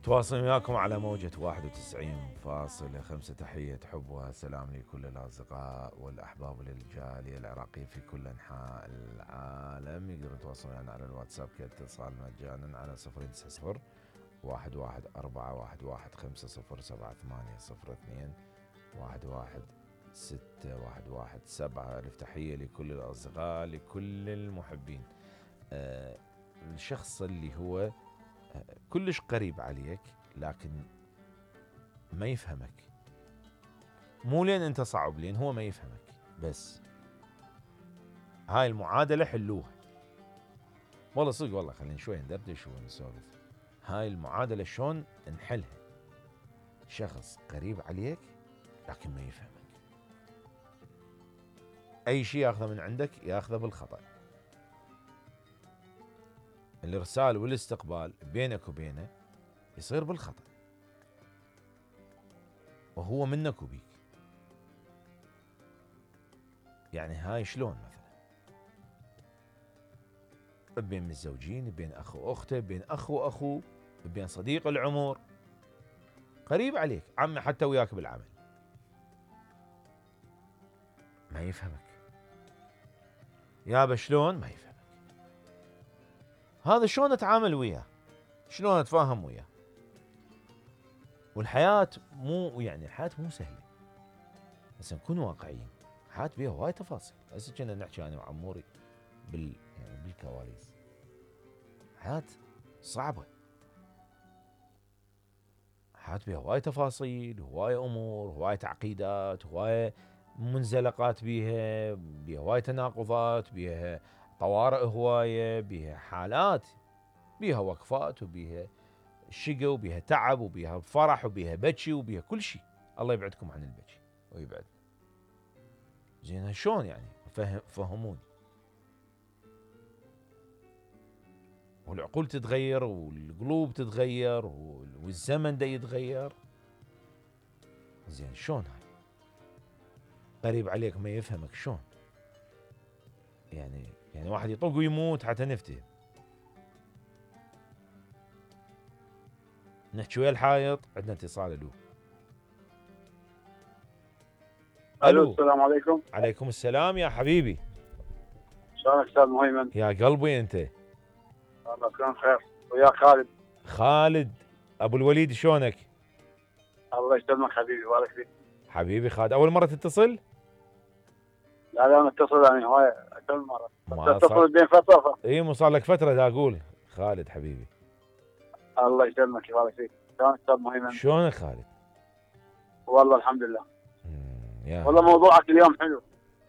تواصل وياكم على موجة 91.5. تحية حب وسلام لكل الأصدقاء والأحباب للجالية العراقية في كل أنحاء العالم. يقدرون يتواصلون معنا على الواتساب كاتصال مجانا على 090 11 4 1 1 5 0 7 8 0 2 1 6 1 7. ألف تحية لكل الأصدقاء لكل المحبين. الشخص اللي هو كلش قريب عليك لكن ما يفهمك، مو لين انت صعب، لين هو ما يفهمك. بس هاي المعادلة حلوها والله صدق، والله خلينا شوي ندردش ونسولف. هاي المعادلة شلون نحلها؟ شخص قريب عليك لكن ما يفهمك، اي شيء ياخذه من عندك ياخذه بالخطأ. الارسال والاستقبال بينك وبينه يصير بالخطأ، وهو منك وبيك. يعني هاي شلون مثلا بين متزوجين، بين اخ واخته، بين اخ واخوه، بين صديق العمر، قريب عليك، عمي حتى وياك بالعمل، ما يفهمك. يابا شلون ما يفهمك؟ هذا شلون اتعامل وياه؟ شلون اتفاهم وياه؟ والحياة مو يعني الحياة مو سهلة، بس نكون واقعيين. الحياة بيها هواي تفاصيل. هسه كنا نحكي انا وعموري يعني بالكواليس. حياة صعبة، حياة بيها هواي تفاصيل، هواي امور، هواي تعقيدات، هواي منزلقات، بيها هواي تناقضات، بيها طوارئ هواية، بيها حالات، بيها وقفات، وبيها شقى، وبيها تعب، وبيها فرح، وبيها بكي، وبيها كل شيء. الله يبعدكم عن البكي ويبعد. زين شلون يعني؟ فهموني. والعقول تتغير، والقلوب تتغير، والزمن دا يتغير. زين شلون هاي؟ قريب عليك ما يفهمك شلون؟ يعني واحد يطق ويموت حتى نفتهم. نحكي ويا الحائط. عندنا اتصال. الو السلام عليكم. عليكم السلام يا حبيبي. شلونك استاذ مهيمن؟ يا قلبي انت. الله يكون خير. وياك خالد ابو الوليد، شلونك؟ الله يسلمك حبيبي، بارك فيك حبيبي خالد. اول مره تتصل؟ لا انا اتصل يعني هواي كل مره، ما اتصل بين فتره. اي مو صار لك فتره دا اقول. خالد حبيبي الله يسلمك يبارك فيك. شلونك استاذ مهيمن؟ شلونك خالد؟ والله الحمد لله. والله موضوعك اليوم حلو.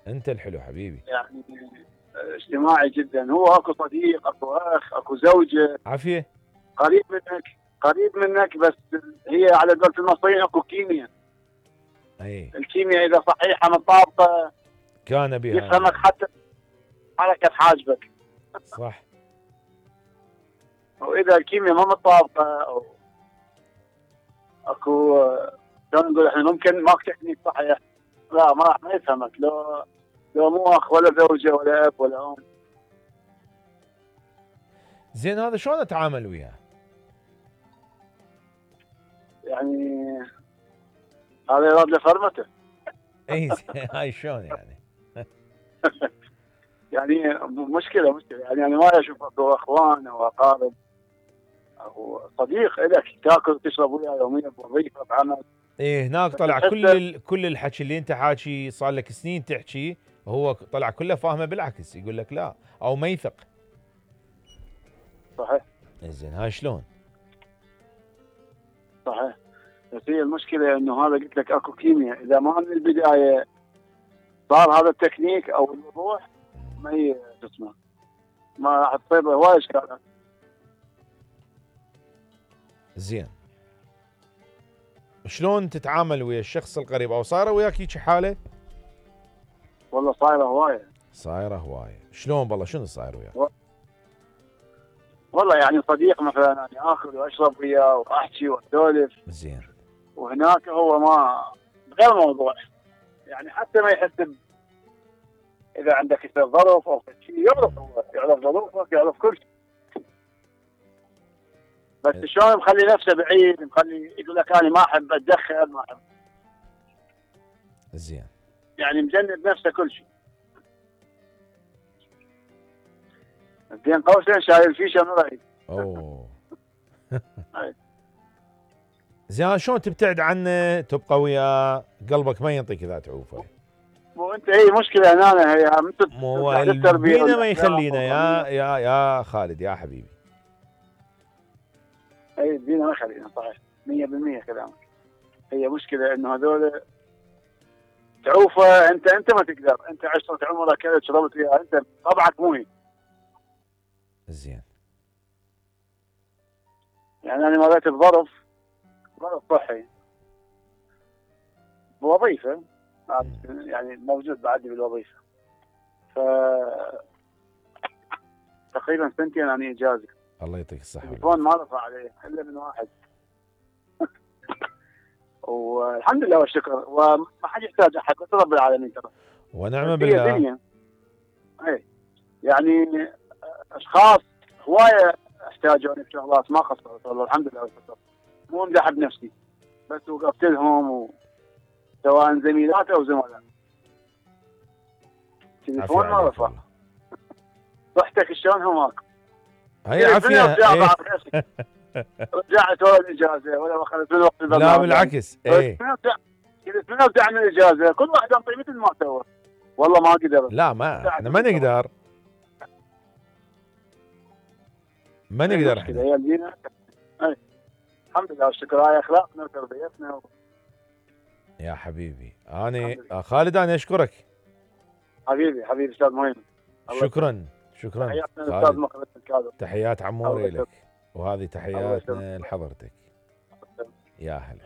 انت الحلو حبيبي. يعني اجتماعي جدا. هو اكو صديق، اكو اخ، اكو زوجه عافيه قريب منك بس هي على قولة المصريين اكو كيمياء. اي الكيمياء اذا صحيحه مطابقه كان بها يفهمك حتى حركه حاجبك. صح. واذا الكيمياء ما مطابقه او اكو شلون نقول احنا ممكن ماك تكنيك صحيح، لا ما راح يفهمك. لو مو اخ ولا زوجه ولا اب ولا ام. زين هذا شلون اتعامل وياه؟ يعني هذا يراد له فرمته. اي هاي شلون يعني؟ يعني مشكله يعني انا ما اشوف اكو اخوان او اقارب او صديق لك تاكل وتشرب وياه يوميا بوظيفه بعمل. ايه هناك طلع كل الحكي اللي انت حاكي صار لك سنين تحكي، هو طلع كله فاهمه بالعكس، يقول لك لا او ما يثق. صحيح. زين هاي شلون؟ صحيح. بس هي المشكله انه هذا قلت لك اكو كيمياء، اذا ما من البدايه صار هذا التكنيك او الوضوح ما هي اسمه ما راح تصير هواي اشكالات. زين شلون تتعامل ويا الشخص القريب؟ او صايره وياك هيك حاله؟ والله صايره هوايه. شلون بالله؟ شنو صاير وياك؟ والله يعني صديق مثلا يعني اكل واشرب وياه واحكي واسولف. زين. وهناك هو ما غير موضوع، يعني حتى ما يحس اذا عندك يصير ظرف او شيء يعرف، هو يعرف ظروفك، يعرف كل شيء. بس شلون مخلي نفسه بعيد، مخلي يقول لك انا ما احب اتدخل، ما احب زين. يعني مجنب نفسه كل شيء. بين قوسين شايل فيشه من رأيي. اوه. زين شلون تبتعد عنه تبقى وياه قلبك ما ينطيك اذا تعوفه؟ مو انت هي مشكله هنا، هي مو التربيه بينا ما يخلينا يا خالد يا حبيبي. اي بينا ما يخلينا صحيح 100% كلامك. هي مشكله انه هذول تعوفه انت ما تقدر، انت عشره عمرك كذا شربت فيها، انت طبعك مو هي. زين. يعني انا مريت بظرف صحي بوظيفه، يعني موجود بعدي بالوظيفه، ف تقريبا سنتين انا اجازه. الله يعطيك الصحه. التليفون ما رفع عليه الا من واحد. والحمد لله والشكر، وما حد يحتاج احد بس رب العالمين ترى. ونعم بالله. دنيا. اي يعني اشخاص هوايه احتاجوني بشغلات ما قصرت والله الحمد لله والشكر. مو امدح بنفسي بس وقفت لهم سواء زميلات او زملاء. التليفون ما رفع. صحتك شلون هماك؟ هي عافيه. رجعت ورا الاجازه ولا اخذت من وقت لا بالعكس. ايه قلت من ارجع من الاجازه كل واحد انطي مثل ما سوى. والله ما قدر. لا ما احنا ما نقدر. ما نقدر احنا. هي الدين. الحمد لله والشكر، هاي اخلاقنا وتربيتنا يا حبيبي انا خالد انا اشكرك. حبيبي استاذ مهم. شكرا تحياتنا الاستاذ مقبل الكاظم. تحيات عموري لك، وهذه تحياتنا لحضرتك. يا هلا.